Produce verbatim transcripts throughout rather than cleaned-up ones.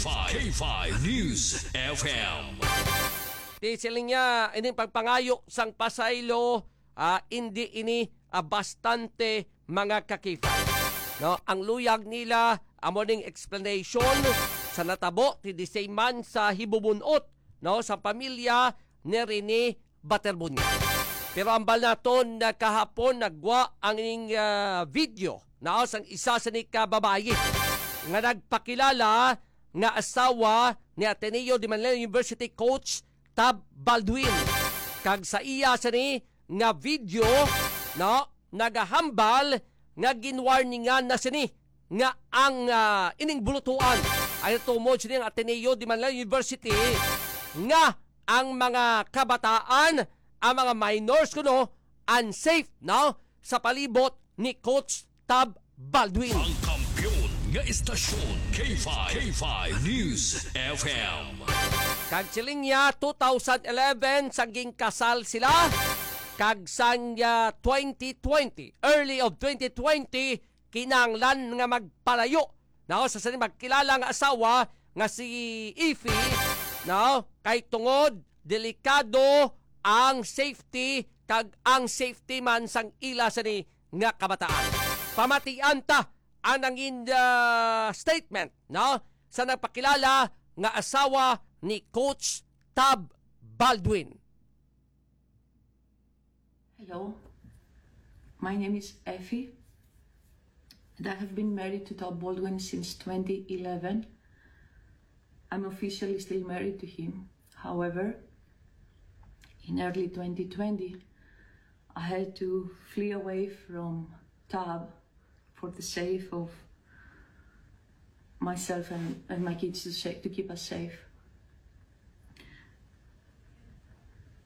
K five News F M. Di siling niya, ining pagpangayo sang pasaylo, ah, indi ini, ah, bastante mga kakipay. No, ang luyag nila amo ning explanation sa natabo ti di man sa hibubunot, no, sa pamilya ni Rene Baterbunya. Pero ambal naton na kahapon nagwa ang ining, ah, video na sang isa sa ni ka babayi nga nagpakilala nga asawa ni Ateneo de Manila University coach Tab Baldwin. Kag sa iya sa ni nga video, no, nagahambal nga ginwarningan na sini nga ang, ah, ining bulutuan ay tumod sini ang Ateneo de Manila University nga ang mga kabataan, ang mga minors kuno, unsafe, no, sa palibot ni Coach Tab Baldwin. Ang kampiyon nga istasyon, K five, K five News F M. Kag siling niya, two thousand eleven sa ginkasal sila, kag sang, ah, twenty twenty, early of twenty twenty, kinahanglan nga magpalayo, no, sa sini magkilala nga asawa nga si Ify, no, kay tungod delikado ang safety kag ang safety man sang ila sini nga kabataan. Pamatian ta ang nangin, ah, statement, no, sa nagpakilala nga asawa ni Coach Tab Baldwin. Hello, my name is Effie, and I have been married to Tab Baldwin since twenty eleven. I'm officially still married to him. However, in early twenty twenty, I had to flee away from Tab for the sake of myself and, and my kids to, sa- to keep us safe.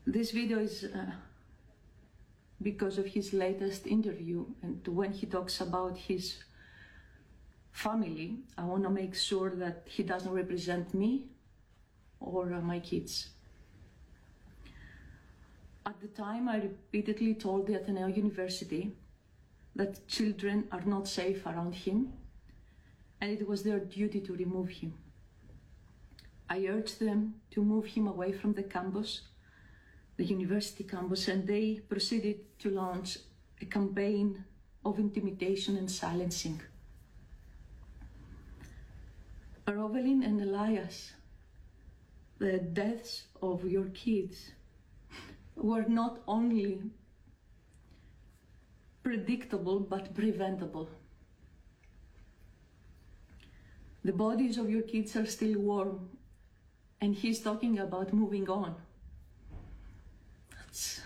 This video is uh, because of his latest interview and when he talks about his family, I want to make sure that he doesn't represent me or uh, my kids. At the time, I repeatedly told the Ateneo University that children are not safe around him, and it was their duty to remove him. I urged them to move him away from the campus, the university campus, and they proceeded to launch a campaign of intimidation and silencing. Rovelin and Elias, the deaths of your kids were not only predictable but preventable. The bodies of your kids are still warm, and he's talking about moving on. That's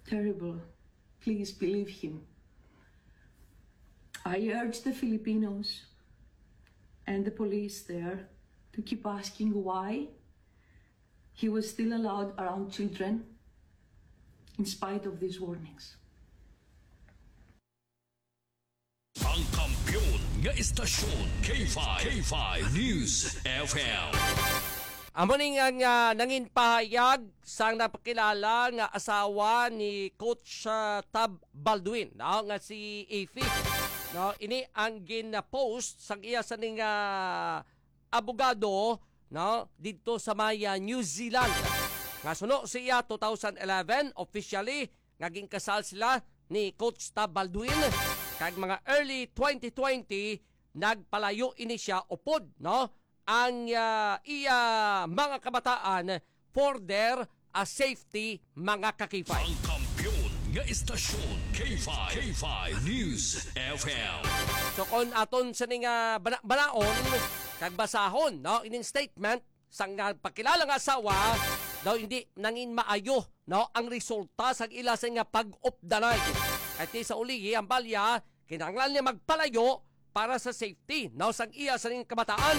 terrible. Please believe him. I urge the Filipinos and the police there to keep asking why he was still allowed around children in spite of these warnings. Ang kampiyon nga istasyon, K five, K five News F M. Amo ni nga, nga nangin pahayag sang napakilala nga asawa ni Coach, ah, Tab Baldwin, no, nga si Ify. No, ini ang gin-post sang iya sa ning, ah, abogado, no, didto sa may, ah, New Zealand. Nga suno siya two thousand eleven, officially nga ginkasal sila ni Coach Tab Baldwin, kag mga early twenty twenty nagpalayo ini siya upod, no, ang, ah, iya mga kabataan for their, ah, safety, mga kakipay. Ang kampiyon nga istasyon, K five, K five News F M. So kon aton sa ning, ah, bana-, banaon kag basahon, no, ining statement sang nagpakilala nga asawa, daw hindi nangin maayo, no, ang resulta sang ila sa nga pag-updanay. Kay ti sa ulihi ang balya, kinahanglan niya magpalayo para sa safety, no, sang iya sa ning kabataan.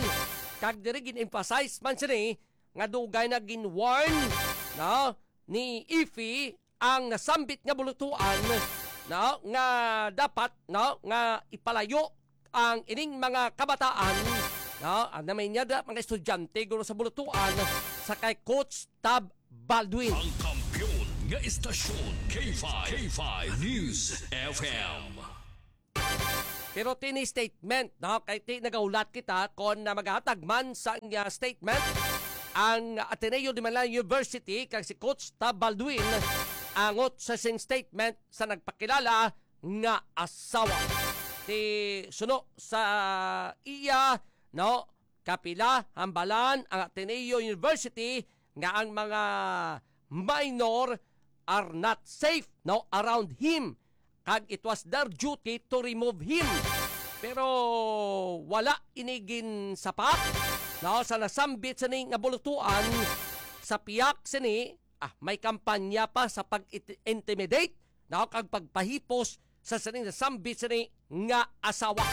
Kag diri gin-emphasize man sini nga dugay na gin-warn, no, ni Ify ang nasambit nga bulutuan, no, nga dapat, no, nga ipalayo ang ining mga kabataan, no, ang namay niya da, mga estudyante guro sa bulutuan sa kay Coach Tab Baldwin. Ang kampiyon nga istasyon, K five, K five News F M. Pero tini statement, no? Kay ti nagahulat kita kon na maghatag man sang, ah, statement ang Ateneo de Manila University kag si Coach Tab Baldwin angot sa sing statement sa nagpakilala nga asawa. Ti suno sa iya, no? Kapila hambalan ang Ateneo University nga ang mga minor are not safe, no, around him, kag it was their duty to remove him. Pero wala ini ginsapat, no, sa nasambit sini nga bulutuan. Sa piyak sini, ah, may kampanya pa sa pag-intimidate, no, kag pagpahipos sa sini nasambit sini nga asawa,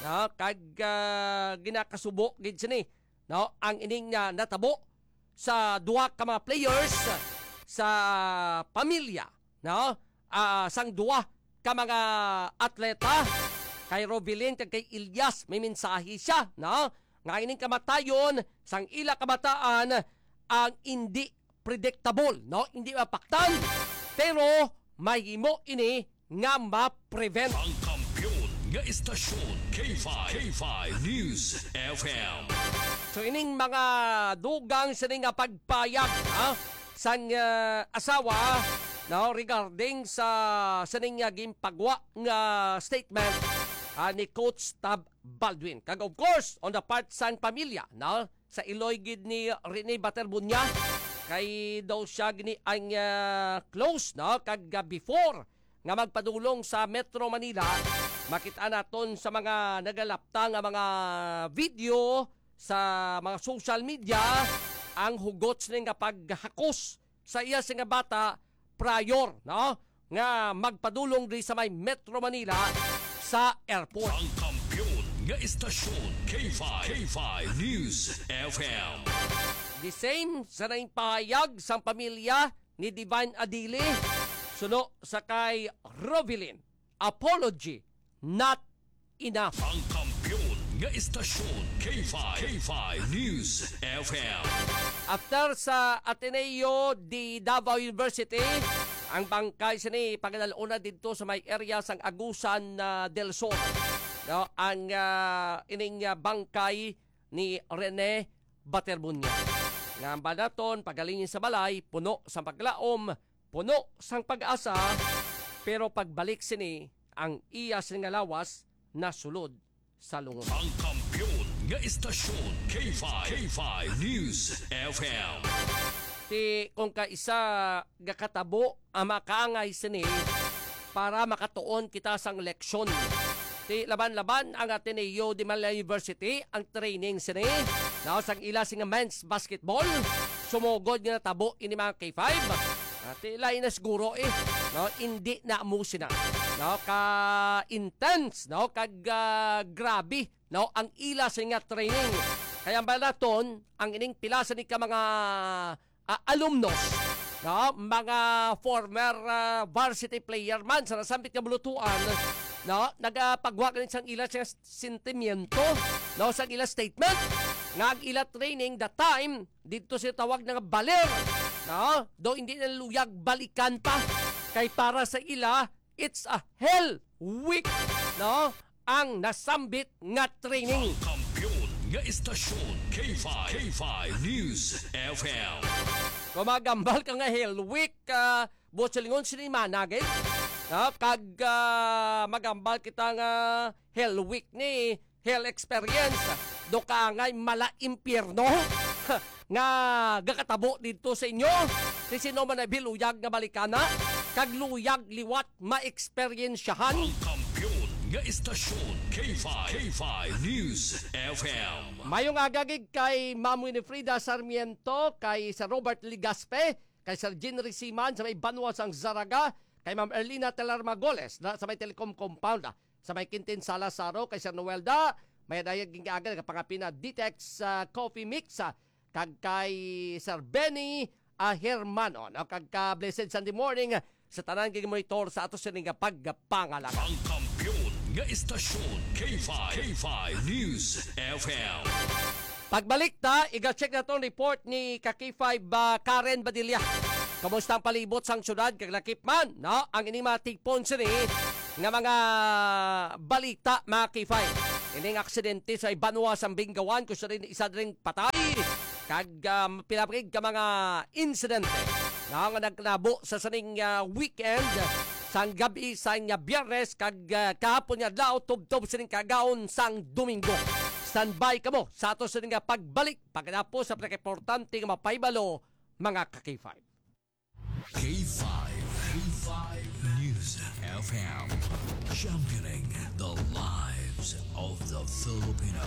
no, kag, ah, ginakasubo gid sini, no, ang ining, ah, natabo sa duha ka mga players sa pamilya, no, ah, sang duha ka mga atleta, kay Rovilin kag kay Elias. May mensahe siya, no, nga ining kamatayon sang ila kabataan ang indi predictable, no, indi mapaktan, pero mahimo ini nga ma-prevent. Ang kampiyon nga istasyon, K five, K five News F M. So, ining mga dugang sini nga pagpayag, ha, sang, ah, asawa, no, regarding sa sining nga ginpagwa nga statement, ah, ni Coach Tab Baldwin. Kag of course, on the part sang pamilya, no, sa iloy gid ni Rene Baterbunya, kay daw siya gini ang, ah, close, no, kag, ah, before nga magpadulong sa Metro Manila, makita naton sa mga nagalapta nga mga video sa mga social media ang hugot sini nga paghakos sa iya sini nga bata prior, no, nga magpadulong diri sa may Metro Manila sa airport. Ang kampiyon nga istasyon, K five, K five News F M. The same sa naing pahayag sang pamilya ni Divine Adili, suno sa kay Rovilin. Apology, not enough. Ang kampiyon nga istasyon, K five, K five News F M. After sa Ateneo de Davao University, ang bangkay sini pagadal-on na didto sa may area sang Agusan, ah, del Sur. No, ang, ah, ining, ah, bangkay ni Rene Baterbunya. Nga ang banaton, pagalingi sa balay, puno sang paglaom, puno sang pag-asa, pero pagbalik sini, ang iya sini nga lawas nasulod sa lungon. Ang kampiyon nga istasyon, K five, K five News F M. Ti kung kaisa gakatabo ang makaangay sini para makatuon kita sang leksyon. Ti laban-laban ang Ateneo de Manila University, ang training sini, no, sang ila sini nga men's basketball. Sumugod nga natabo ini, mga K five. Ah, ti lain na siguro, eh, no, indi na mo sina, no, ka intense, no, kag, ah, grabe, no, ang ila sini nga training. Kaya ba naton ang ining pila sini ka mga, ah, alumnos, no, mga former, ah, varsity player man sa nasambit nga bulutuan, no, nagapagwa gani sang ila sini nga sentimiento, no, sang ila statement nga ang ila training that time didto sa tawag nga baler, no? Do hindi na luyag balikan pa, kay para sa ila, it's a hell week, no, ang nasambit nga training. Ang kampiyon nga istasyon, K five, K five News F M. Kung magambal ka nga hell week, ah, buot silingon sini mana gid, no? Kag, ah, magambal kita nga hell week ni hell experience. Do ka ngay mala impyerno nga gakatabo didto sa inyo. Si sino man ay biluyag nga balikana, kag luyag liwat maeksperiensyahan. Ang kampiyon nga istasyon, K five, K five News F M. Mayong aga gid kay Ma'am Winifrida Sarmiento, kay Sir Robert Ligaspe, kay Sir Jinry Siman sa may Banwa sang Zaraga, kay Ma'am Erlina Telar Magoles na sa may Telecom Compound, ah, sa may Quintin Salazaro, kay Sir Noel Da, may dayag ginkaagad nga pangapin na Ditex, ah, Coffee Mix, ah, kag kay Sir Benny, ah, Hermano, no? Kag ka blessed Sunday morning, ah, sa tanan nga monitor sa ato sini nga pagpangalagad. Ang kampiyon nga istasyon, K five, K five News F M. Pagbalik ta, iga-check naton report ni ka K five, ah, Karen Badilla. Kumusta ang palibot sang syudad kag lakip man, no? Ang ining mga tigpon sini, nga mga balita, mga K five. Ining aksidente sa Banwa sang Bingawan, kung siya rin isa rin patay. Kag, ah, pila pa gid ka mga insidente na nga nagkatabo sa sining, ah, weekend, sang gabi sang, ah, Biyernes, kag, ah, kahapon nga adlaw, tubtob sining kaagahon sang Domingo. Standby kamo sa ato sining nga pagbalik, pagkatapos sa pinakaimportante nga mapahibalo, mga ka-K five. K five, K five News F M, championing the lives of the Filipino.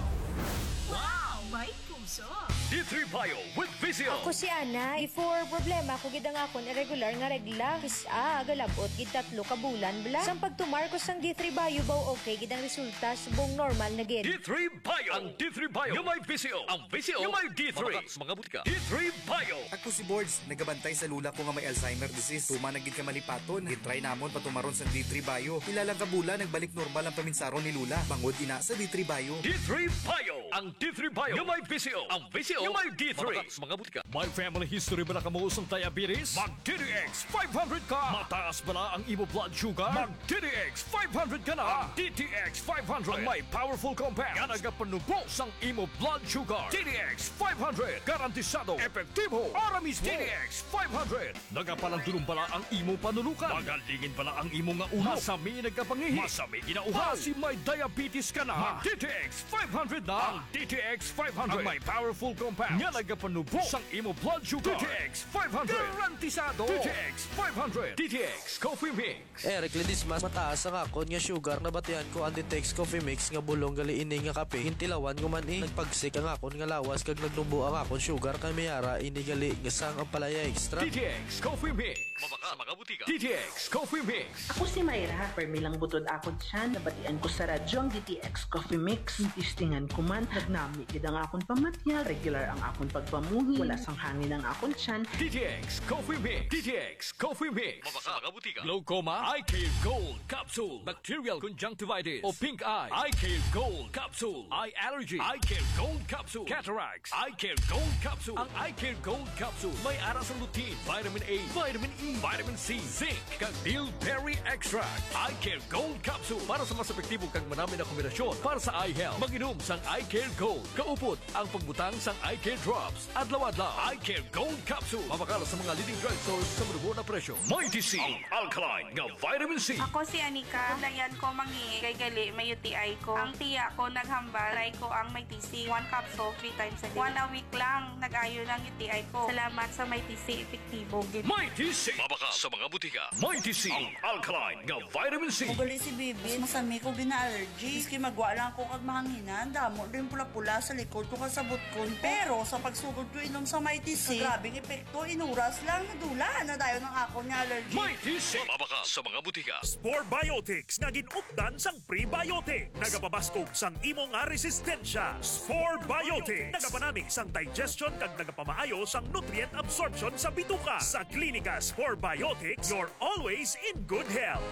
Wow! May puso! D three Bio with Visio. Ako si Ana. Before, problema ko gid ang akon irregular nga regla. Kis-a, galabot gid tatlo ka bulan bala. Sang pagtumar ko sang D three Bio, baw okay gid ang resulta, subong normal na gid. D three Bio. Ang D three Bio nga may Visio. Ang Visio nga may D three. Mabakal sa mga butika. D three Bio. Ako si Bords, nagabantay sa lola ko nga may Alzheimer disease. Tuman na gid ka malipaton. Gitry namon patumaron sang D three Bio. Pila lang ka bulan, nagbalik normal ang paminsaron ni lola. Bangod ina sa D three Bio. D three Bio. Ang D three Bio nga may Visio. Ang Visio nga may D three. Mabakal sa mga butika. May family history ba na kamo sang diabetes? Mag D T X five hundred ka. Mataas bala ang imo blood sugar? Mag D T X five hundred ka na. Ang D T X five hundred ang may powerful compound nga nagapanubo sang imo blood sugar. D T X five hundred, garantisado, epektibo, ara mismo. D T X five hundred, nagapalandulong bala ang imo panunukan? Magalingin bala ang imo nga ulo? Masami nagkapangihi? Masami ginauhaw? Basi may diabetes ka na? Mag D T X five hundred na. Ang D T X five hundred ang may powerful compound nga nagapanubo sang imo blood sugar. D T X five hundred. Garantisado. D T X five hundred. D T X Coffee Mix. Eric Ledesma, mataas ang akon nga sugar. Nabatian ko ang D T X Coffee Mix nga bulong gali ini nga kape. Gintilawan ko man, eh. Nagpagsik ang akon nga lawas kag nagnubo ang akon sugar, kay may ara ini gali nga sang Ampalaya Extra. D T X Coffee Mix. Mabakal sa mga butika. D T X Coffee Mix. Ako si Myra. Permi lang butod akon tiyan. Nabatian ko sa radyo ang D T X Coffee Mix. Testingan ko man, nagnami gid ang akon pamatyag. Regular ang akon pagpamuhi. Wala sang hangin ang akon tiyan. D T X Coffee Mix. D T X Coffee Mix. Mabakal sa mga butika. Glaucoma, Eye Care Gold Capsule, bacterial conjunctivitis o pink eye, Eye Care Gold Capsule, eye allergy, Eye Care Gold Capsule, cataracts, Eye Care Gold Capsule. Ang Eye Care Gold Capsule may ara sang lutein, vitamin A, vitamin E, vitamin C, zinc, kag bilberry extract. Eye Care Gold Capsule para sa mas epektibo kag manami na kombinasyon para sa eye health. Mag-inom sang Eye Care Gold kaupod ang pagbutang sang Eye Care Drops adlaw-adlaw. Eye Care Gold Capsule. Mabakal sa mga leading drugstores sa madugo na presyo. Mighty C, ang alkaline nga vitamin C. Ako si Anika. Dayan ko mangi kay gali may U T I ko. Ang tiya ko naghambal, try ko ang Mighty C. One capsule, three times a day. One a week lang, nag-ayo ng U T I ko. Salamat sa Mighty C, epektibo gid. Mighty C. Mabakal sa mga butika. Mighty C, ang alkaline nga vitamin C. Magali si Bibi, masami ko gina-allergy. Miski magwa lang ko kag mahanginan, damo din pula-pula sa likod ko kag sa butkon ko. Pero sa pagsugod ko inom sa Mighty C, grabing epekto, inuras lang, nadula na dayon ang akon nga allergy. Mighty C. Mabakal sa mga butika. Spore Biotics nga gin-updan sang prebiotic. Nagapabaskog sang imo nga resistensya. Spore Biotics. Nagapanami sang digestion kag nagapamaayo sang nutrient absorption sa bituka. Sa Klinika Spore Biotics, you're always in good health.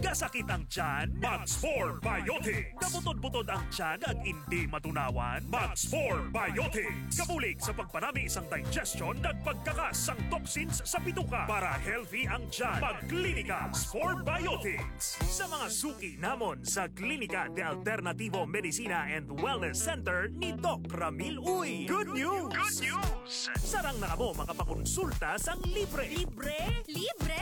Gasakit ang tiyan? Mag Spore Biotics. Kabutod-butod ang tiyan kag indi matunawan? Mag Spore Biotics. Kabulig sa pagpanami sang digestion kag pagkakas sang toxins sa bituka. Para healthy ang tiyan, mag Klinika Spore Biotics. Sa mga suki namon sa Klinika de Alternativo Medicina and Wellness Center ni Doc Ramil Uy. Good news! Good news! Sarang na kamo makapakonsulta sang libre. Libre? Libre!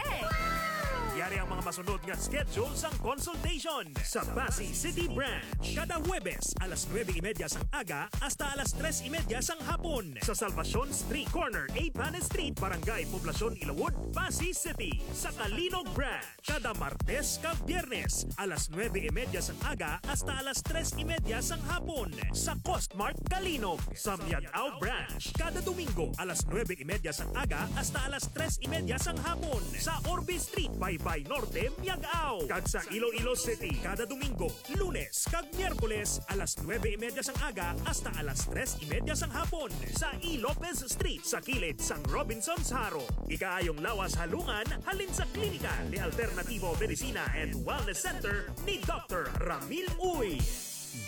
Yari ang mga masunod nga schedule sang consultation. Sa Passi City Branch, kada Huwebes, alas nuebe y media sang aga hasta alas tres y media sang hapon. Sa Salvacion Street, corner Eighth Street, Barangay Poblacion, Ilawod, Passi City. Sa Calinog Branch, kada Martes kag Biyernes, alas nuebe y media sang aga hasta alas tres y media sang hapon. Sa Costmart Calinog, sa Miag-ao Branch, kada Domingo, alas nuebe y media sang aga hasta alas tres y media sang hapon. Sa Orbe Street, Baybay Norte, Miag-ao. Kag sa Iloilo City, kada Domingo, Lunes kag Miyerkules, alas nuebe y media sang aga hasta alas tres y media sang hapon, sa E. Lopez Street, sa kilid sang Robinsons Jaro. Ikaayong lawas halungan halin sa Klinika de Alternativo Medicina and Wellness Center ni Doctor Ramil Uy.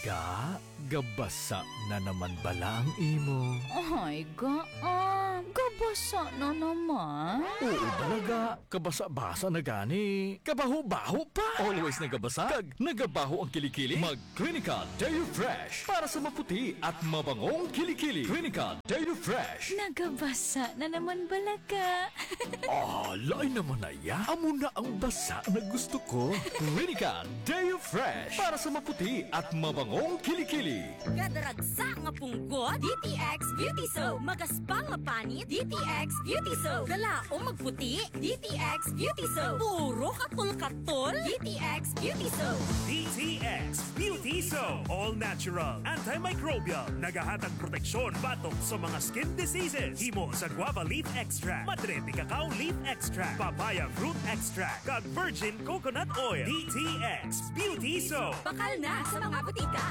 Ga, gabasa na naman bala ang imo? Ay, ga, ah, gabasa Basa na naman. Oo, balaga. Kabasa-basa na gani. Kabaho-baho pa. Always nagabasa. Kag nagabaho ang kilikili. Mag Clinica Deo Fresh. Para sa maputi at mabangong kilikili. Clinica Deo Fresh. Nagabasa na naman balaga. Ah, lain naman na ya. Amo na ang basa na gusto ko. Clinica Deo Fresh. Para sa maputi at mabangong kilikili. Kadaragsa nga punggot, D T X Beauty Soap. Magaspang nga panit, D T X Beauty Soap. Galaom magputi, D T X Beauty Soap. Puro katol-katol, D T X Beauty Soap. D T X Beauty Soap. All natural, antimicrobial. Nagahatag proteksyon batok sa mga skin diseases. Himo sa guava leaf extract, madre de cacao leaf extract, papaya fruit extract, kag virgin coconut oil. D T X Beauty Soap. Bakal na sa mga butika.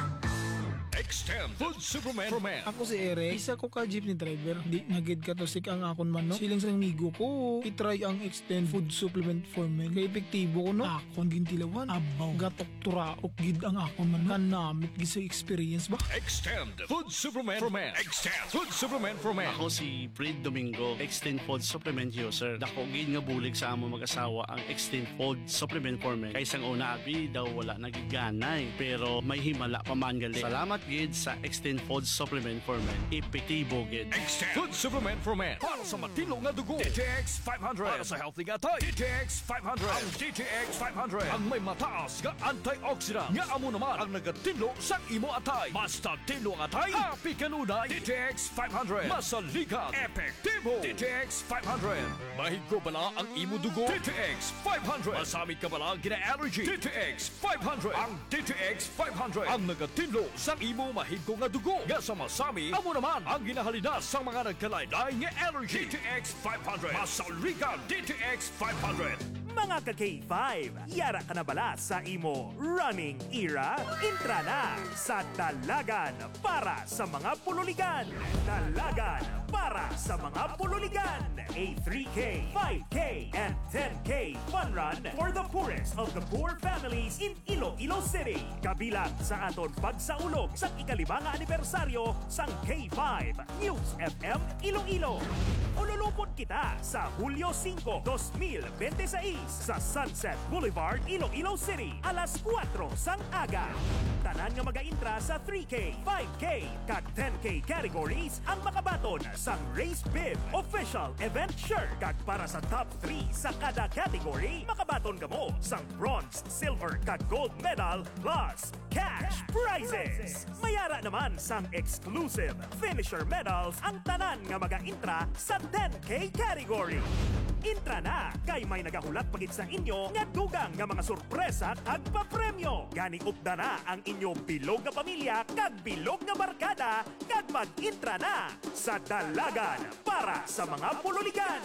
Extend Food Supplement for Men. Ako si Eric, isa ko ka jeepney driver. Di na gid katusik ang akon manok. Siling sa amigo ko, i-try ang Extend Food Supplement for Men. Kay epektibo ko, no? Akon gintilawan. Abaw, gatok turaok gid ang akon manok. Kanamit gid sa experience ba. Extend Food Supplement for Men. Extend Food Supplement for Men. Ako si Fred Domingo, Extend Food Supplement User. Dako gid nga bulig sa among mag-asawa ang Extend Food Supplement for Men. Kay sang una, abi, daw wala na gid ganay. Pero may himala pa man gali. Salamat gid sa Extend Food Supplement for Men. Epektibo gid. Extend Food Supplement for Men. Para sa matinlo nga dugo, D T X five hundred. Para sa healthy nga atay, D T X five hundred. Ang D T X five hundred ang may mataas nga antioxidant nga amo naman ang nagatinlo sa imo atay. Mas tinlo ang atay, happy kanunay. D T X five hundred. Masaligan, epektibo. D T X five hundred. Mahigko bala ang imo dugo? D T X five hundred. Masami ka bala ang gina-allergy? D T X five hundred. Ang D T X five hundred ang nagatinlo sa imo mahigko nga dugo nga sa masami, amo naman ang ginahalina sa mga nagkalain-lain nga allergy. D T X five hundred. Masaligan, D T X five hundred. Mga ka K five, yara ka na bala sa imo running era? Intra na sa Dalagan para sa mga Pululigan. Dalagan para sa mga Pululigan. A three K, five K, and ten K fun run for the poorest of the poor families in Iloilo City. Kabilang sa aton pagsaulog sa ikalima nga anibersaryo sang K five News F M Iloilo. Ululupon kita sa Hulyo singko, dos mil bente seis sa Sunset Boulevard, Iloilo City, alas kuwatro sang aga. Tanan nga magaintra sa three K, five K, kag ten K categories ang makabaton sang Race Bib official event shirt. Kag para sa top three sa kada category, makabaton kamo sang bronze, silver, kag gold medal plus cash prizes. Mayara naman sang exclusive finisher medals ang tanan nga magaintra sa ten K category. Intra na, kay may nagahulat pa gid sa inyo nga dugang nga mga sorpresa kag papremyo. Gani, upda na ang inyo bilog nga pamilya kag bilog nga barkada kag mag-intra na sa Dalagan para sa mga Pululigan.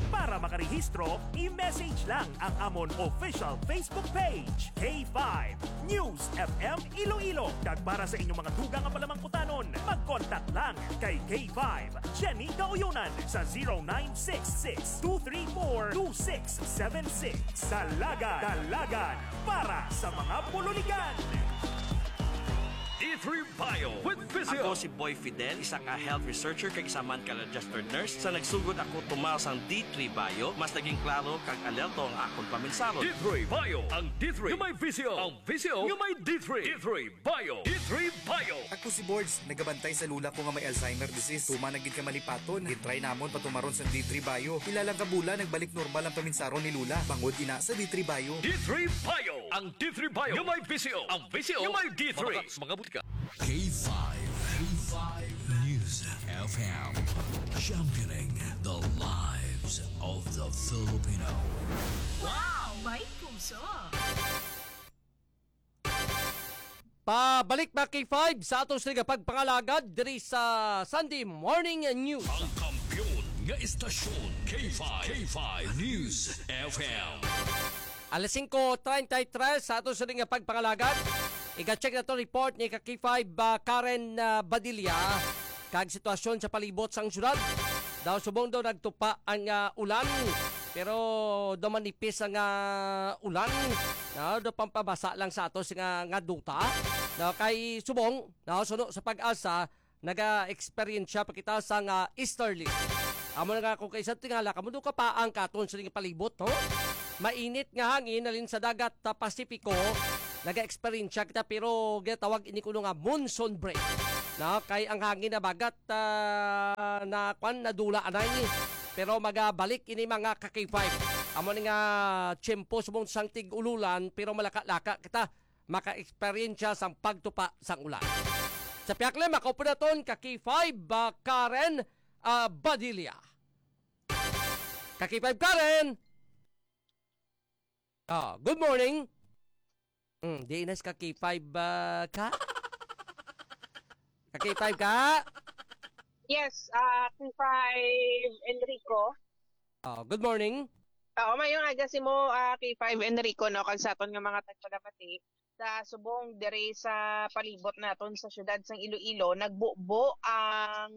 Para makarehistro, i-message lang ang amon official Facebook page, K five News F M Iloilo. Kag para sa inyong mga dugang nga palamangkutanon, mag-contact lang kay K five Jenny Gauyunan sa zero nine six six two three four two six seven six. Dalagan, Dalagan para sa mga Pululigan. D three Bio with Physio. Ako si Boy Fidel, isa nga health researcher kag isa man ka registered nurse. Sa nagsugod ako tumaw sang D three Bio, mas naging klaro kag alerto ang akon paminsaro. D three Bio, ang D three nga may visyo, ang visyo nga may D three. D three Bio, D three Bio. Ako si Bords, nagabantay sa lula ko nga may Alzheimer disease. Tuman na gid ka malipaton. Gitry namon patumaron sa D three Bio. Pila lang ka bulan, nagbalik normal ang paminsaron ni Lula. Bangod ina sa D three Bio. D three Bio, ang D three Bio nga may visyo, ang visyo nga may D three. Mga butika. K five, K five News F M, championing the lives of the Filipino. Wow! May puso! Pabalik, mga K five, sa aton sila nga pagpangalagad diri sa Sunday Morning News. Ang kampiyon nga istasyon, K five, K five News F M. Alas singko treinta y tres sa ato sining nga pagpangalagad. Ika-check na to report ni ka K five, ah, Karen, ah, Badilla. Kag sitwasyon sa palibot sang syudad. Daw subong daw nagtupa ang, ah, ulan. Pero daw manipis ang, ah, ulan. No, daw pampabasa lang sa ato nga, nga duta. No, kay subong, no, suno sa PAGASA, naga-experience pa kita sang, ah, easterly. Amo na nga, kung kaisa tingala, kamo do kapaang katon sa ining palibot, no? Mainit nga hangin halin sa dagat, ah, Pasipiko, naga-eksperyensya kita, pero ginatawag ini kuno nga monsoon break. No? Kay ang hangin na bagat, ah, na kwan, nadula anay. Pero magabalik ini, mga ka-K five. Amo ni nga tiyempo subong sang tig-ululan, pero malaka-laka kita maka-eksperyensya sang pagtupa sang ulan. Sa pihak lima, kaupo naton ka K five, ah, Karen, ah, Badilla. Ka K five Karen! Ah, good morning. Mm, di inas ka K five, ah, ka? Ka K five ka? Yes, ah, K five Enrico. Ah, good morning. Oo, mayong aga sa imo, ah, K five Enrico, no, kag sa aton nga mga tagpalamati sa subong diri sa palibot naton sa siyudad sang Iloilo, nagbubo ang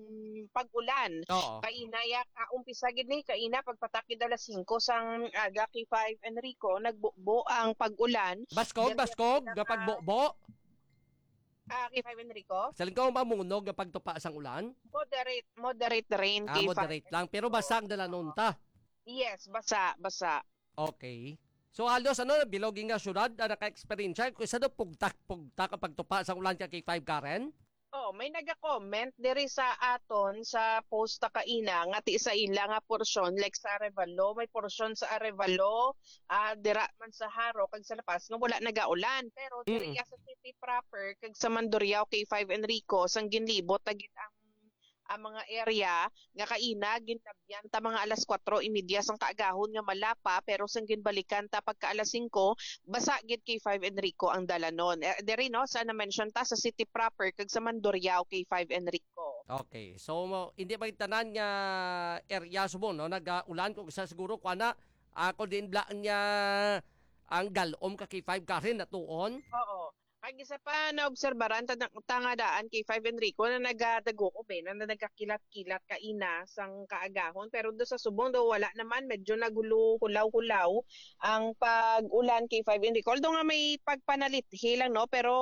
pag-ulan. Oo. Kaina ya, ah, umpisa gid ni kaina pagpatak gid alas singko sang aga, K five Enrico, nagbubo ang pag-ulan. Baskog, Diri baskog, sa nga pagbubo. Ah, K five Enrico? Sa lingkaw mamunog nga pagtupa sang ulan? Moderate, moderate rain, Ah, K five. Moderate lang. Pero basa ang dalanon ta. Yes, basa, basa. Okay. So halos ano, bilog nga syudad ang naka-eksperyensya. Kung isa daw pugtak-pugtak ang pagtupa sang ulan ka K five Karen? Oh, may naga-comment diri sa aton sa post ta kaina nga ti sa ila nga porsyon, like sa Arevalo, may porsyon sa Arevalo, ah, dira man sa Jaro kag sa La Paz nga wala nagaulan, pero diri Mm. ya sa city proper kag sa Mandurriao, K five Enrico, sang ginlibot na gid ang, ang mga area nga kaina ginlabyan ta mga alas kwatro y media sang kaagahon nga malapa, pero sang ginbalikan ta pagka alas singko, basa gid, K five Enrico, ang dalanon. Eh, diri, no, sa na-mention ta sa city proper kag sa Mandurriao, K five Enrico. Okay. So mo, hindi ba tanan nga area subong, no, nag-ulan? Kung isa siguro kuana, ako din bla niya ang galom ka K five Karen natuon. Oo. Kag isa pa naobserbaran ta, ta nga daan, K five Enrico, na nagadago ko, be, na nagkakilat-kilat kaina sang kaagahon, pero do sa subong do wala naman, medyo nagulo-hulaw-hulaw ang pag-ulan, K five Enrico. Although nga may pagpanalithi lang, no, pero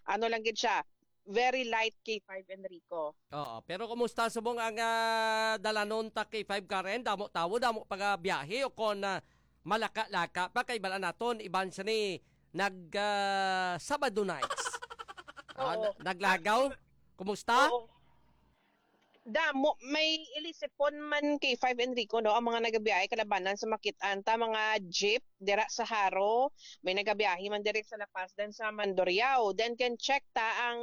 ano lang gid siya, very light, K five Enrico. Oo, pero kumusta subong ang, ah, dalanon ta K five Karen? Damo tawo, damo pagabiyahe o kon, ah, malaka-laka pa kay bala naton iban sa ni nag, ah, Sabado nights. Ah, Oo. na- naglagaw? Kumusta? Oo. Damo, may ilisipon man, K five Enrico, no, ang mga nagabiyahe kalabanan sa makit-an ta mga jeep dira sa Jaro, may nagabiyahe man diri sa La Paz dan sa Mandurriao. Then can check ta ang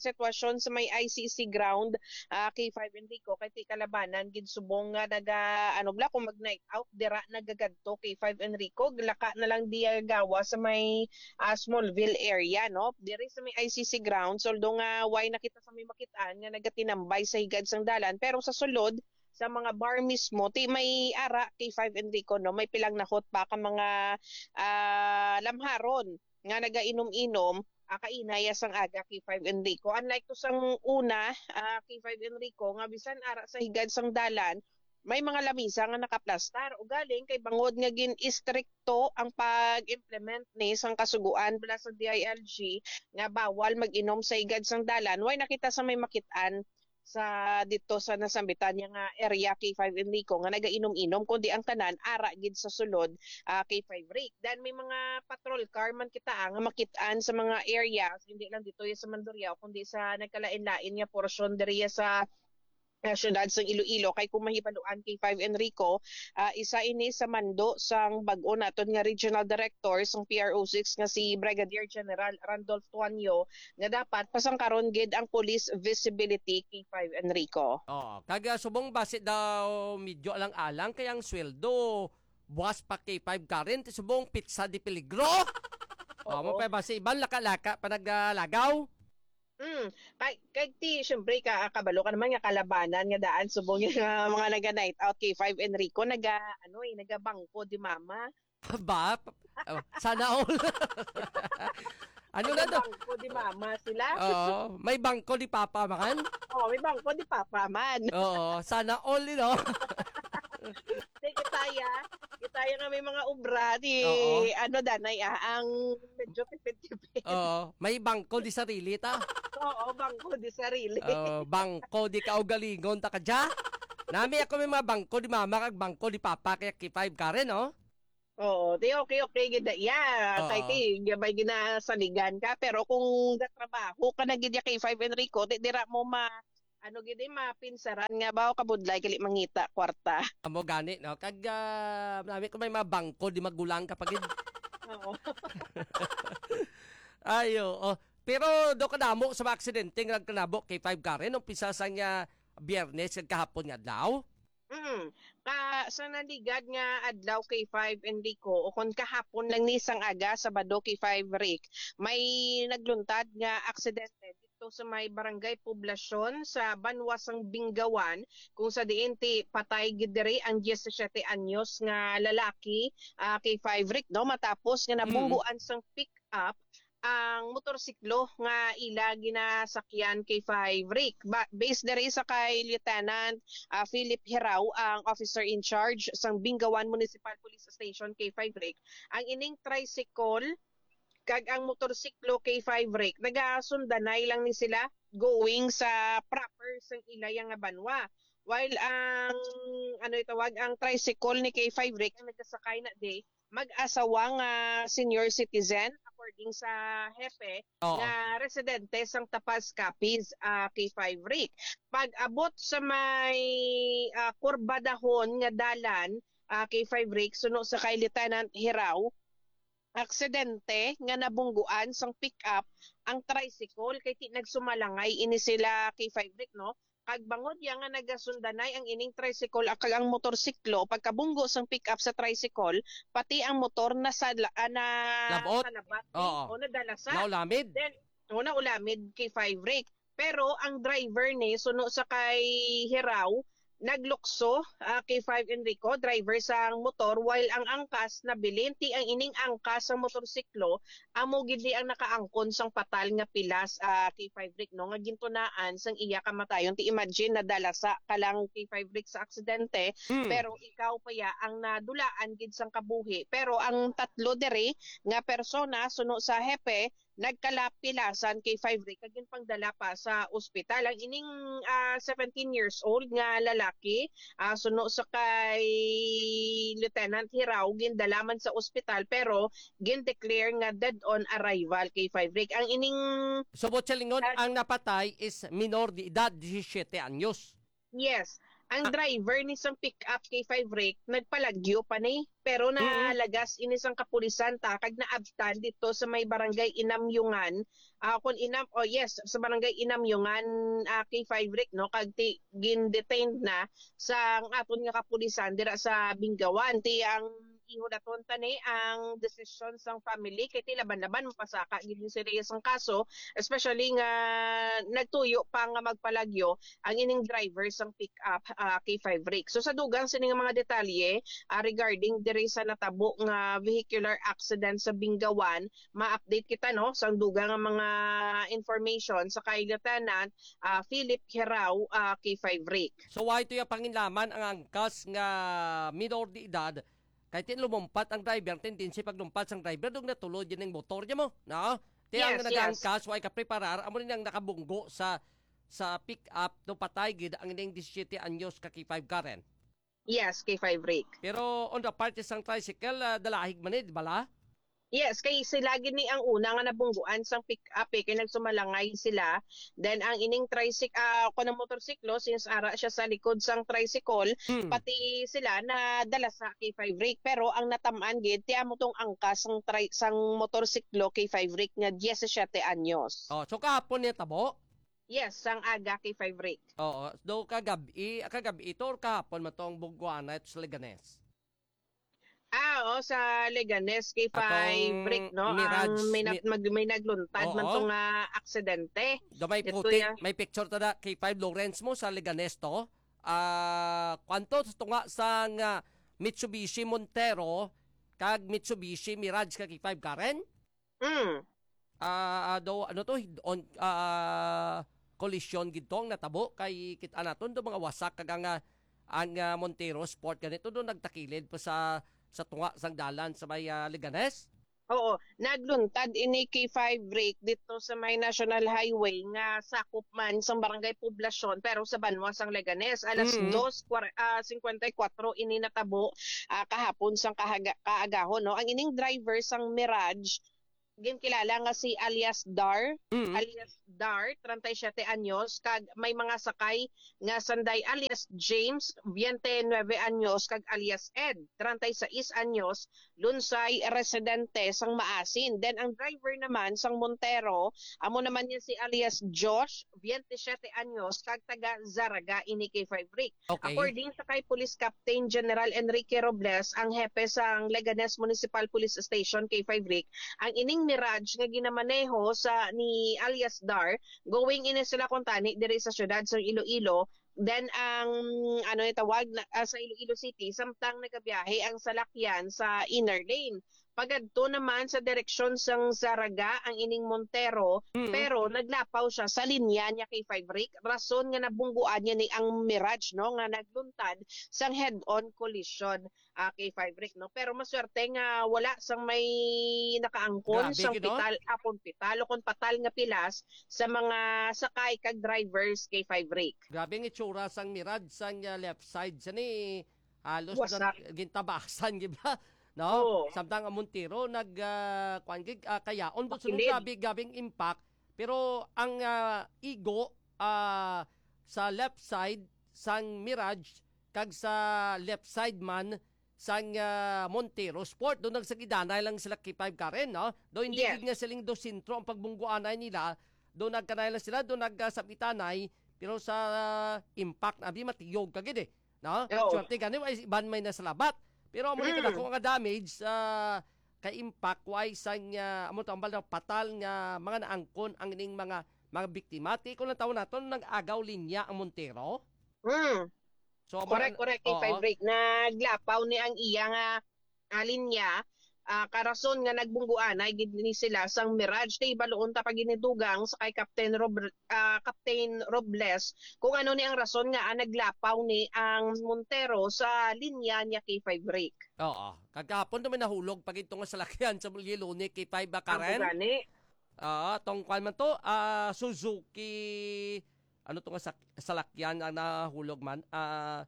sitwasyon sa may I C C ground, ah, K five Enrico, kay ti kalabanan gid subong nga naga, ano bala, kung mag night out dira nagagadto, K five Enrico, laka na lang diya gawa sa may, ah, Smallville area, no? Diri sa may I C C grounds, although nga way na kita sa may makit-an nga nagatinambay sa higad sang dalan, pero sa sulod, sa mga bar mismo, ti may ara, K five Enrico, no, may pilang nahot pa ka mga, ah, lamharon nga nagainom-inom, ah, kaina ya sang aga, K five Enrico. Unlike to sang una, ah, K five Enrico, nga bisan ara sa higad sang dalan, may mga lamisa nga nakaplastar. Ugaling kay bangod nga gin-istrikto ang pag-implement ni sang kasugoan bala sa D I L G nga bawal mag-inom sa higad sang dalan, way nakita sa may makit-an sa dito sa nasambitan niya nga area, K five Enrico, nga nagainom-inom, kundi ang tanan ara gid sa sulod, ah, K five Rick. Then may mga patrol car man kita, ah, nga makit-an sa mga areas, hindi lang dito ya sa Mandurriao, kundi sa nagkalain-lain nga porsyon diriya sa, ah, siyudad sa Iloilo. Kay kung mahibaluan, K five Enrico, ah, isa ini sa mando sang bag-o naton nga regional director sang P R O six nga si Brigadier General Randolph Tuanyo, nga dapat pasangkaron gid ang police visibility, K five Enrico. Oh, kag, ah, subong basi daw medyo alang-alang kay ang sweldo buwas pa K five Karen, ti subong pizza de peligro. Oh, mo Oo. pa basi iban laka-laka pa naglagaw. Mm. Kay, kay ti, syempre, ka, kabalo ka naman nga kalabanan nga daan subong yung, ah, mga naga night out, K five Enrico, naga, ano eh, naga bangko di mama. Ba? Oh, sana all. Ano na to? Bangko di mama sila. Oo, may bangko di papa man. Oh, may bangko di papa man. Oo, sana all, you know. Di kita ya, kita ya nga may mga obra di Oo. Ano danay, ah, ang medyo tipid-tipid. Oo, may bangko di sarili ta. Oo, bangko di sarili. Oh, bangko di kaugalingon ta kadya. Nami ako may mga bangko di mama kag bangko di papa kaya K five Karen, oh. Oo, di okay, okay gid na iya. Oo. Kay ti, may ginasaligan ka. Pero kung gatrabaho ka na gid ya kay Five Enrico, di dira mo ma, ano gid, eh, mapinsaran nga ba, o kabudlay, gali mangita, kwarta. Amo gani, no? Kag, ah, nami ko may mga bangko, di magulang ka pa gid. Oo. Ayo, oh. Pero do kadamo sa mga aksidente nga nagkanabo kay Five Karen, umpisa sa nga Biyernes kag kahapon nga adlaw. Mm. Ka, sa naligad nga adlaw kay Five Enrico, o kon kahapon lang ni sang aga, Sabado kay Five Rick, may nagluntad nga aksidente dito sa may barangay Poblacion sa banwa sang Bingawan, kung sa diin ti patay gid diri ang diyesisiyete anyos nga lalaki, ah, kay Five Rick, no, matapos nga Mm. nabungguan sang pick-up ang motorsiklo nga ila ginasakyan kay Five Rick. Ba, based diri sa kay Lieutenant, ah, Philip Hiraw, ang officer in charge sang Bingawan Municipal Police Station kay Five Rick, ang ining tricycle kag ang motorsiklo kay Five Rick nagasundanay lang ni sila going sa proper sang ilaya nga banwa. While ang, ano itawag, ang tricycle ni kay Five Rick ang nagasakay na di mag-asawa nga senior citizen, according sa hepe, Oo. nga residente sang Tapaz, Capiz, ah, kay Five Rick. Pag-abot sa may, ah, kurba dahon nga dalan, ah, kay Five Rick, suno sa kay Lieutenant Hiraw, aksidente nga nabungguan sang pick-up ang tricycle kay ti nagsumalangay ini sila kay Five Rick, no? Kag bangod ya nga nagasundanay ang ining tricycle, ah, kag ang motorsiklo, pagkabunggo sang pick-up sa tricycle, pati ang motor nasala-, ah, na Labot? salabat ni Oo. o nadalasa. Naulamid? Then, o naulamid kay Five Rick. Pero ang driver ni, suno sa kay Hiraw, naglukso, ah, kay Five Enrico, driver sang motor, while ang angkas nabilin, ti ang ining angkas sang motorsiklo, amo gid ni ang nakaangkon sang patal nga pilas, ah, kay Five Rick, no, nga gintunaan sang iya kamatayon. Ti imagine, nadalasa ka lang kay Five Rick sa aksidente, Hmm. pero ikaw pa ya ang nadulaan gid sang kabuhi. Pero ang tatlo diri nga persona, suno sa hepe, nagkalapilasan kay Five Rick kag ginpangdala pa sa ospital. Ang ining, ah, seventeen years old nga lalaki, ah, suno sa kay Lieutenant Hiraw, gindala man sa ospital pero gin-declare nga dead on arrival kay Five Rick. Ang ining So, Bochelingon, Ah, ang napatay is minor de edad, disisyete anyos. Yes. Ang Ah. driver ni sang pick-up kay Five Rick, nagpalagyo pa ni. Pero Mm. nalagas ini sang kapulisan ta, kag naabtan dito sa may barangay Inamyungan. Ah, kung Inam-, oh yes, sa barangay Inamyungan, ah, kay Five Rick, no? Kag ti, gin-detained na sa ang aton nga kapulisan dira sa Bingawan. Ti ang ihulaton ta ni ang desisyon sang family, kay ti laban-laban mapasaka gid ni sila sang kaso, especially nga nagtuyo pa nga magpalagyo ang ining driver sang pick-up, ah, kay Five Rick. So, sa dugang sini nga mga detalye, ah, regarding diri sa natabo nga vehicular accident sa Bingawan, ma-update kita, no, sa dugang nga mga information sa kay Lieutenant, ah, Philip Hiraw, ah, kay Five Rick. So, why to yung panginlaman ang angkas nga minor de edad Kay tin lumumpat ang driver, ang tendency paglumpat sang driver, dug natulod yun ang motor niya mo, no? Ti ang Yes, yes. nag-aangkas, way kapreparar, amo rin ang nakabunggo sa, sa pick-up, no, patay gid ang ining disisiete anyos ka K five Karen. Yes, K five Rick. Pero on the part sang tricycle, ah, dalahig man eh, di bala? Yes, kay sila gid ni ang una nga nabungguan sang pick-up eh, kay nagsumalangay sila. Then ang ining tricyc-, ah, kuno motorsiklo, since ara siya sa likod sang tricycle, Hmm. pati sila nadala sa K five Rick. Pero ang natamaan gid, ti amo tong angkas sang tri-, sang motorsiklo K five Rick nga diyesisiete anyos. Oh, so kahapon niya tabo? Yes, sang aga K five Rick. Oo, do kagabi, ah, kagabi ito or kahapon man tong bungguan na ito sa Leganes? Ah, oo, sa Leganes, K five Atong Rick, no? Mirage, Ang may nag-, mi- mag-, may nagluntad man Oo. to nga aksidente. Do may Ito puti, ya. may picture to na, K five Lawrence mo sa Leganes to. Ah, kwanto sa tunga sang, ah, Mitsubishi Montero kag Mitsubishi Mirage ka K five Karen? Mm. Ah, ah, do, ano to, on, ah, kolisyon gid to ang natabo kay kit-a naton do mga wasak kag ang, ah, ang, ah, Montero Sport ganito do nagtakilid pa sa, sa tunga sang dalan sa may, ah, Leganes. Oo, nagluntad ini K five, Rick, dito sa may National Highway nga sakop man sang Barangay Poblacion, pero sa banwa sang Leganes, alas Mm. dos kwar-, ah, cincuenta y cuatro ini natabo, ah, kahapon sang kahaga-, kaagahon, no? Ang ining driver sang Mirage, ginkilala nga si alias Dar, Mm. alias Dar, treinta y siete anyos, kag may mga sakay nga sanday alias James, veinte y nueve anyos, kag alias Ed, treinta y seis anyos, Lunsay, residente sang Maasin. Then ang driver naman sang Montero, amo naman niya si alias Josh, veinte y siete anyos, kag taga Zaraga ini, K five Rick. Okay. According sa kay Police Captain General Enrique Robles, ang hepe sang Leganes Municipal Police Station, K five Rick, ang ining Mirage nga ginamaneho sa ni alias Dar, going ini sila kuntani diri sa siyudad sa Iloilo, then ang, ano ni tawag na, ah, sa Iloilo City, samtang nagabiyahe ang salakyan sa inner lane. Pagadto naman sa direksyon sang Zaraga ang ining Montero, Mm. pero naglapaw siya sa linya niya, K five Rick, rason nga nabungguan niya ni ang Mirage, no, nga nagluntad sang head-on collision, ah, K five Rick, no. Pero maswerte nga wala sang may nakaangkon Grabe, sang gid, no? pital, ah, kon pital o kon patal nga pilas sa mga sakay kag drivers, K five Rick. Grabe ang itsura sang Mirage sang, ah, left side sa ni halos Wasak. nag-, gintabasan, di ba? No? Oo. Samtang ang Montero nag, ah, kuwan gid, ah, kayaon, but sunod Pakilid. grabe, grabe ang impact. Pero ang, ah, igo, ah, sa left side sang Mirage kag sa left side man sang, ah, Montero Sport, doon nagsagidanay lang sila, K five Karen, no? Do hindi Yes. gid nga siling do sentro ang pagbungguanay nila, do nagkanay lang sila, do nagkasabitanay, pero sa impact, abi, matiyog ka gid eh. No? Oo. Swerte gani, wa iban may nasalabat. Pero amo ni Mm. kadako nga damage sa kay impact, wa isang, ah, amo to, ang bala, patal nga mga naangkon ang ining mga, mga biktima. Ti, kung ang tawon naton, nag-agaw linya ang Montero. Mm. So, amo Correct, ang correct, K five Oo. Rick. Naglapaw ni ang iya nga, ah, linya, ah, karason nga nagbungguanay gid ni sila sang Mirage. Ti, baluon ta pa ginidugang sa kay Captain Rob-, ah, Captain Robles kung ano ni ang rason nga, ah, naglapaw ni ang Montero sa linya niya, K five Rick. Oo. Kagahapon naman nahulog pa gid to nga salakyan sa Bulilone, K five ba, Ang Karen? Gani. Ah, tong kwan man to, ah, Suzuki, ano to nga sak-, salakyan ang nahulog man? Ah,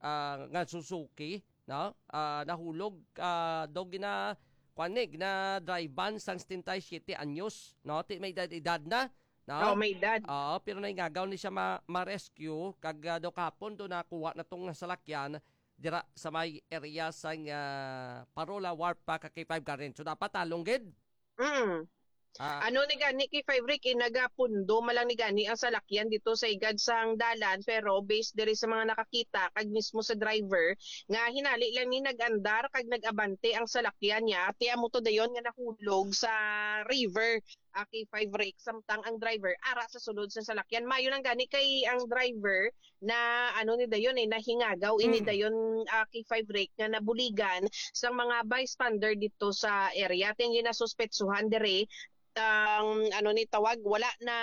ah, nga Suzuki, no? Ah, nahulog, ah, daw gina-, kwan ni, gina-drive-an sang setenta y siete anyos, no? Ti may edad-edad na, no? Oh, may edad. Oo, pero naingagaw ni siya ma-, ma-rescue, kag, ah, daw kahapon do nakuha na tong salakyan dira sa may area sang, ah, Parola Wharf pa ka K five Karen. So, dapat talong gid. Mm. Ah. Ano ni gani, K five Rick, eh, nagapundo man lang ni gani ang salakyan dito sa igad sang dalan, pero based diri sa mga nakakita kag mismo sa driver nga hinali lang ni nag-andar kag nag-abante ang salakyan niya, ti amo to dayon nga nahulog sa river, ah, K five Rick, samtang ang driver ara sa sulod sa salakyan. Mayo lang gani kay ang driver na ano ni dayon eh, nahingagaw ini Mm. dayon, ah, K five Rick nga nabuligan sang mga bystander dito sa area. Ti ang ginasuspetsuhan diri, ang ano ni tawag, wala na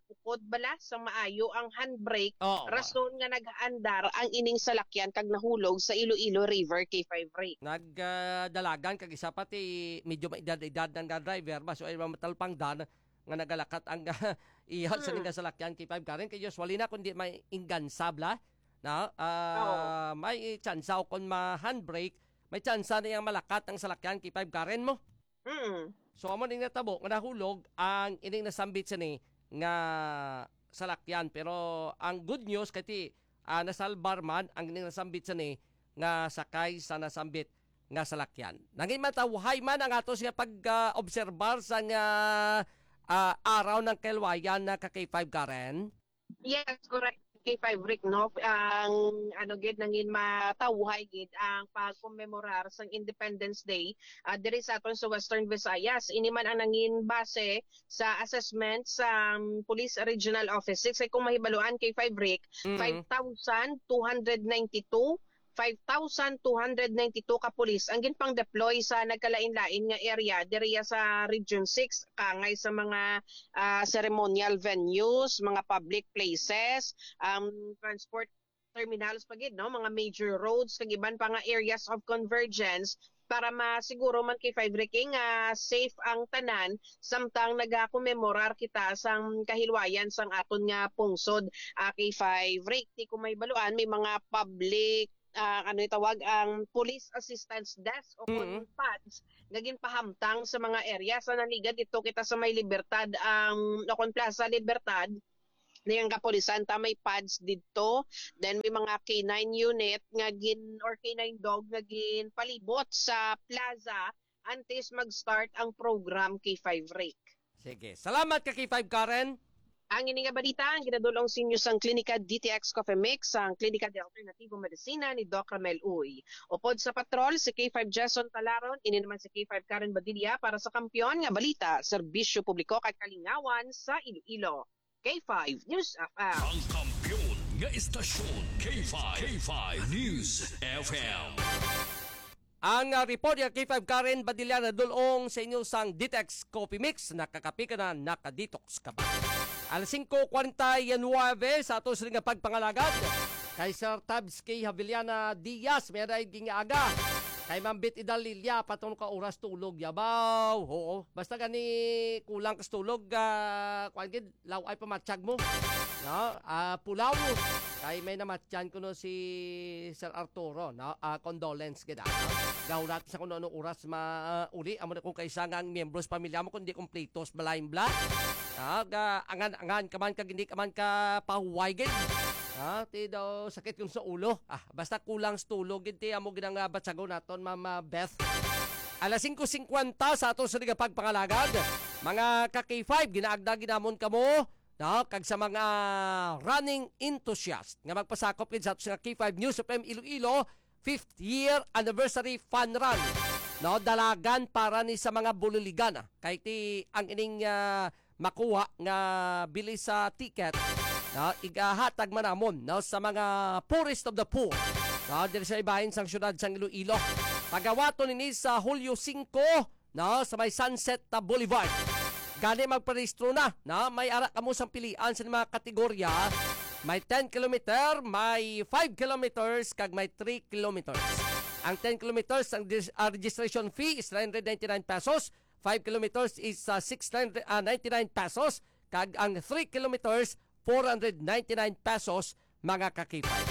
ukod bala sa maayo ang handbrake, Oo. rason nga nag-andar ang ining salakyan kag nahulog sa Iloilo River, K five Rick. Nag, ah, dalagan kag isa pati medyo may edad-edad ang driver, ba, so ay matalpangdan nga nagalakat ang iya sa Hmm. ning salakyan, K five Karen, kay usually na kundi may ingansabla, na, ah, Oo. may tsansa o kung ma-handbrake, may tsansa na yang malakat ang salakyan, K five Karen mo. Mm. So, amo ning natabo nga nahulog ang ining nasambit sini nga salakyan. Pero ang good news kay ti, ah, nasalbar man ang ining nasambit sini nga sakay sa nasambit nga salakyan. Nangin matawhay man ang atos nga pag, ah, obserbar sa nga, ah, araw ng kalwayan na ka K five Karen. Yes, correct. K five Rick, no? Ang ano gid nangin matawhay gid ang pagkomemorar sang Independence Day, ah, diri sa aton sa Western Visayas. Ini man ang nangin base sa assessment sa, um, Police Regional Office six. Ay kung mahibaluan, K five Rick, Mm. five thousand two hundred ninety-two, five thousand two hundred ninety-two ka pulis ang ginpang-deploy sa nagkalain-lain nga area diriya sa Region six, kangay sa mga, ah, ceremonial venues, mga public places, um, transport terminals pa gid, no, mga major roads kag iban pa nga areas of convergence para masiguro man, K five Ricky, nga safe ang tanan samtang nagakomemorar kita sang kahilwayan sang aton nga pungsod, ah, K five Ricky. Kung may baluan, may mga public, ah, ano itawag, ang police assistance desk o kon Mm. pads nga ginpahamtang sa mga area. Sa naligan dito kita sa may Libertad, ang, o kon Plaza Libertad, ning kapulisan ta may pads didto. Then may mga K nine unit nga gin, or K nine dog nga ginpalibot sa plaza antes mag-start ang program, K five Rick. Sige. Salamat ka, K five Karen. Ang ini nga balita ang ginadulong sa inyo sang Klinika D T X Coffee Mix, ang Klinika de Alternativo Medicina ni Doc Ramel Uy. Upod sa patrol, si K five Jason Talaron, ini naman si K five Karen Badilla para sa Kampiyon nga Balita, Serbisyo Publiko kag Kalingawan sa Iloilo. K five News F M. Ang kampiyon nga istasyon, K five, K five News F M. Ang, ah, report ni K five Karen Badilla nadulong sa inyo sang Detox Coffee Mix. Nakakape ka na, nakadetox ka pa. Alas singko kwarenta y nuwebe sa ato sila nga pagpangalagad. Kay Sir Tabs K Haviliana Diaz, may ray ging aga. Kay Ma'am Bit Idalilia, patong ka oras tulog, yabaw. Oo. Basta gani kulang ka sa tulog, ah, kuwan gid, law ay pamatsag mo. No? Ah, pulaw. Kay may namatyan ko no si Sir Arturo, no? Ah, condolence gid, ah, no? Gahulat sa kung ano oras ma, ah, uli. Amo na kung kaisa nga ang miyembro sa pamilya mo, kung di kompleto sa balayan bla. Ah, ga, angan-angan ka man, kag hindi ka man ka pahuway gid. Ah, ti daw sakit kung sa ulo. Ah, basta kulang sa tulog gid, ti amo gid ang, ah, batsagon naton, Ma'am, ah, Beth. Alas singko singkwenta sa ato sa nga pagpangalagad. Mga ka K five, ginaagda ginamon kamo, no? Kag sa mga running enthusiast nga magpasakop gid sa ato sa K five News F M Iloilo, fifth year anniversary fun run. No, dalagan para ni sa mga buliligan, ah. Kay ti ang ining, ah, makuha nga bili sa ticket, no, igahatag man namon, no, sa mga poorest of the poor, no, diri sa ibahin sang siyudad sang Iloilo. Pagawaton ini sa Hulyo singko, no, sa may Sunset, ah, Boulevard. Gani magparehistro na, no? May ara kamo sang pilian sa mga kategorya. May ten kilometer, may five kilometers, kag may three kilometers. Ang ten kilometers, ang dis-, ah, registration fee is three hundred ninety-nine pesos. Five kilometers is, ah, six hundred, ah, ninety-nine pesos. Kag ang three kilometers, four hundred ninety-nine pesos, mga ka K five.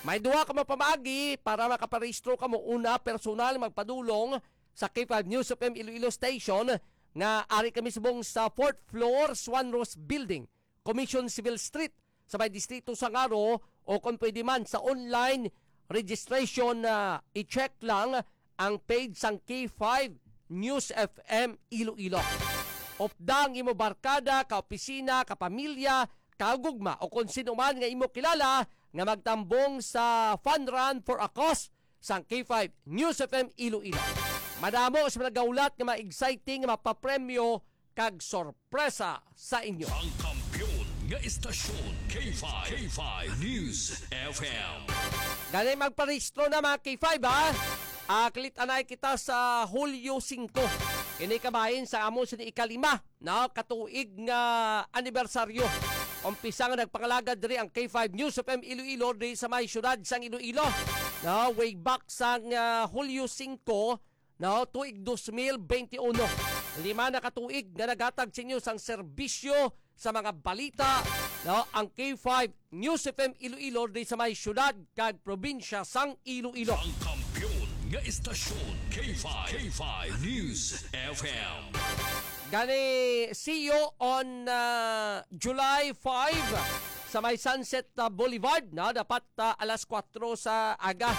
May duha ka mga pamaagi para makaparehistro kamo. Una, personal magpadulong sa K five News F M Iloilo Station nga ari kami subong sa fourth floor, Swan Rose Building, Commission Civil Street, sa may Distrito Sangaro, o kung pwede man sa online registration, ah, i-check lang ang page sang K five News F M Iloilo. Upda ang imo barkada, kaopisina, kapamilya, kagugma, o kon sino man nga imo kilala nga magtambong sa Fun Run for a Cause sang K five News F M Iloilo. Madamo sa mga gaulat nga mga exciting nga mapapremyo kag sorpresa sa inyo. Ang kampiyon nga istasyon, K five, K five News F M. Gani magparehistro na, mga K five, ha? Ah, kilit-anay kita sa Hulyo singko. Ini kabahin sa amo sa ikalima, no, katuig nga anibersaryo. Umpisa nga nagpangalagad diri ang K five News F M Iloilo diri sa may siyudad sang Iloilo. No, way back sang, ah, Hulyo singko, no, tuig dos mil beintiuno. Lima na ka tuig nga naghatag sa inyo sang serbisyo sa mga balita, no, ang K five News F M Iloilo diri sa may siyudad kag probinsya sang Iloilo. Ang kampiyon nga istasyon, K five, K five News F M. Gani, see you on, ah, July five sa may Sunset, ah, Boulevard, no? Dapat, ah, alas kuwatro sa aga,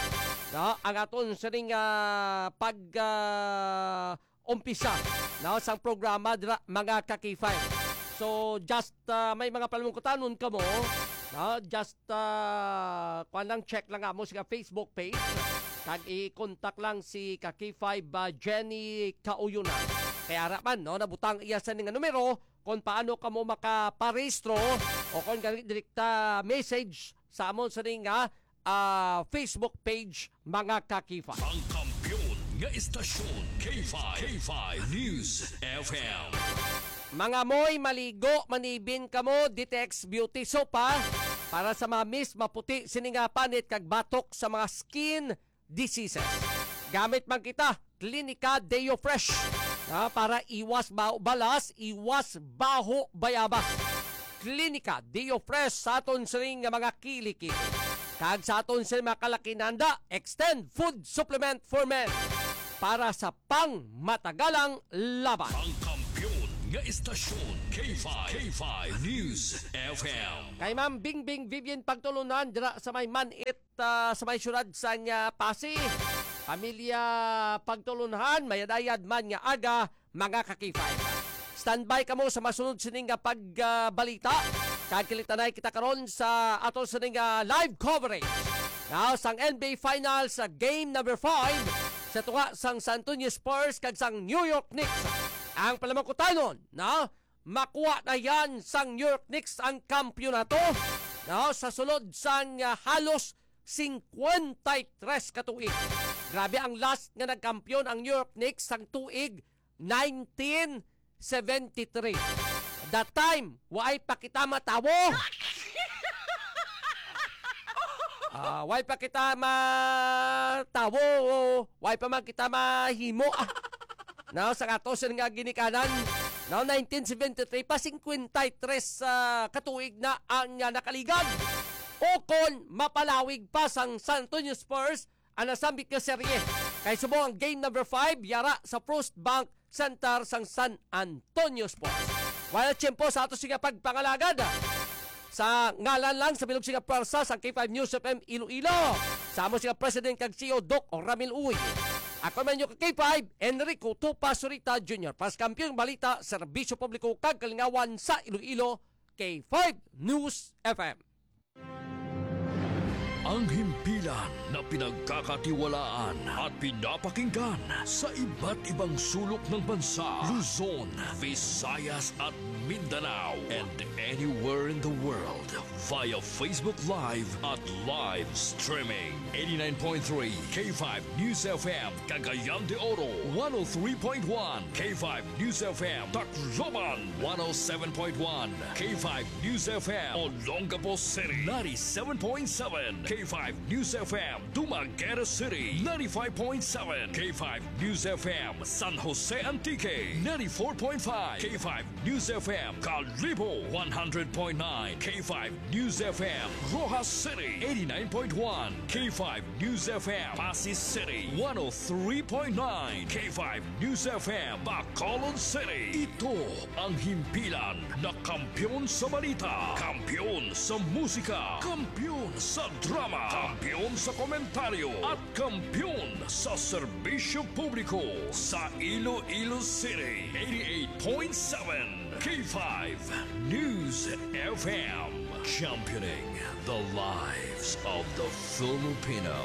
no? Ang aton sining, ah, pag, ah, umpisa, no, sang programa dira, mga ka K five. So, just, ah, may mga panamungkutanon kamo, no? Just, ah, kuwan lang, check lang amo sa Facebook page. Kag i-contact lang si ka K five, ah, Jenny Kauyunan. Kaya ara man, no, nabutang iya sa ning numero kung paano kamo makaparehistro o kung gani direkta message sa amon sa ning, ah, ah, Facebook page, mga ka K five. Ang kampiyon nga istasyon, K five, K five News F M. Mga moy, maligo, manibin kamo, Ditex Beauty Soap, ha? para sa mamis, maputi sini nga panit kag batok sa mga skin diseases. Gamit man kita, Clinica Deo Fresh, ah, para iwas baho balas, iwas baho bayabas. Clinica Deo Fresh sa aton sining nga mga kilikili. Kag sa aton sining mga kalakinanda, Extend Food Supplement for Men para sa pangmatagalang laban. Ang kampiyon nga istasyon, K five, K five News F M. Kay Ma'am Bingbing Vivian Pagtulunan dira sa may Manit, ah, sa may siyudad sang, ah, Passi. Pamilya Pagtulunhan, mayad-ayad man nga aga, mga ka-K five. Standby kamo sa masunod sining nga pagbalita. Kag kalitanay kita karon sa ato sining nga live coverage. Now, sang N B A Finals sa game number five sa tunga sang San Antonio Spurs kag sang New York Knicks. Ang palamangkutanon, no? Makuha na yan sang New York Knicks ang kampiyonato, no? Sa sulod sang, ah, halos singkwenta y tres ka tuig. Grabe, ang last nga nagkampiyon ang New York Knicks sang tuig nineteen seventy-three. That time, waay pa kita matawo. Ah, waay pa kita matawo. Waay pa man kita mahimo. Ah. Now, sa ato sining nga ginikanan, now, nineteen seventy-three pa, singkwenta y tres, ah, ka tuig na ang, ah, nakaligad. Ukon mapalawig pa sang San Antonio Spurs ang nasambit nga serye. Kay subong ang game number five, yara sa First Bank Center sang San Antonio Spurs. Wala tiyempo sa ato sining nga pagpangalagad. Sa ngalan lang sa bilog sining nga pwersa sa K five News F M Iloilo, sa amo sining nga President kag C E O, Doc Ramil Uy. Ako man inyo ka K five, Enrico Tupa Surita Junior. Para sa Kampiyon Balita, Serbisyo Publiko kag Kalingawan sa Iloilo, K five News F M. Ang himpilan na pinagkakatiwalaan at pinapakinggan sa iba't ibang sulok ng bansa, Luzon, Visayas at Mindanao, and anywhere in the world via Facebook Live at live streaming. Eighty-nine point three K five News F M, Cagayan de Oro, one oh three point one K five News F M, Tacloban, one oh seven point one K five News F M, Olongapo City, ninety-seven point seven K five News F M, Dumaguete City, ninety-five point seven K five News F M, San Jose Antique, ninety-four point five K five News F M, Kalibo, one hundred point nine K five News F M, Roxas City, eighty-nine point one K five News F M, Passi City, one oh three point nine K five News F M, Bacolod City. Ito ang himpilan na kampiyon sa balita, kampiyon sa musika, kampiyon sa drama, kampiyon sa komentaryo, at kampiyon sa serbisyo publiko sa Iloilo City. Eighty-eight point seven K five News F M, championing the lives of the Filipino.